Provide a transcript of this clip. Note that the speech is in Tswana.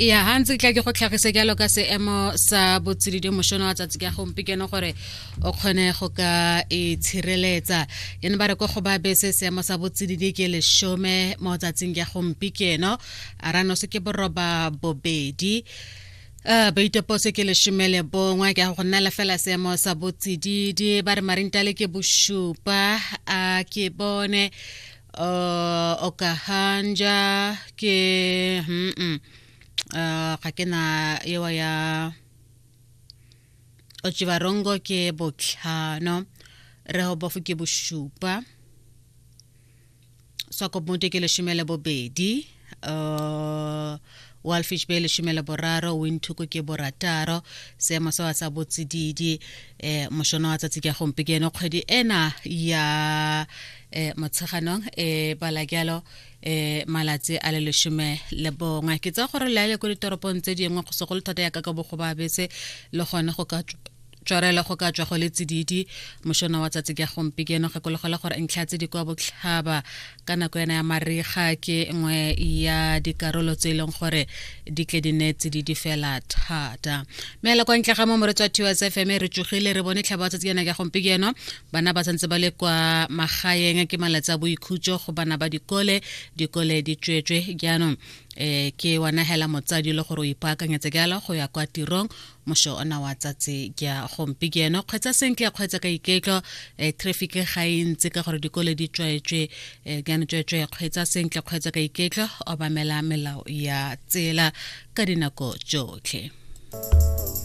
Ya ha ntse tla ke go tlhagise jalo ka seemo sa botsididi mošono wa tsatsi ka gompieno gore o kgone go ka itshireletsa. Yane ba re ko go ba bese seemo sa botsididi ke 10 mo tsatsing ya gompieno, a ranose ke 82, baitopose ke 11, ke go nna fela seemo sa botsididi. Ba re Marintale ke 7, a ke bone Okahanja ke ga ke na ewa ya Otjiwarongo ke 5, Rehoboth ke 7, Swakopmund ke 12, Walfish Bay 13, Windhoek ke 6. Seemo sa sa botsididi mošono wa tsatsi ka gompieno, kgwedi ena ya Motsheganong e bala jalo malatsi a le 11. Ke tsa gore le ko ditoropong tse dingwe, go segolo thata ya ka ka bogo ba bese, le gone go ka tswarela go ka tswa go le tsididi mošono wa tsatsi ka gompieno. Gakologela gore ntlha tse di kwa botlhaba ka nako ena ya mariga ke nngwe ya dikarolo tse e leng gore di tle di ne tsididi fela thata. Mme la kwa ntle ga mo moretsi wa TOS FM, re tsogile re bone tlhaba wa tsatsi ena ka gompieno. Bana ba santse ba le kwa magaeng, ke malatsi a boikhutso go bana ba dikole, dikole di tswetswe jaanong. Ke wana hela motsadi le gore o ipaakanyetse jalo go ya kwa tirong mošo ona wa tsatsi ja gompieno. Kgweetsa sentle, kgweetsa ka iketlo, traffic ga e ntse ka gore dikole di tswetswe jaanong. Tswetswe kgweetsa sentle, kgweetsa ka iketlo, obamela melao ya tsela ka dinako tsotlhe.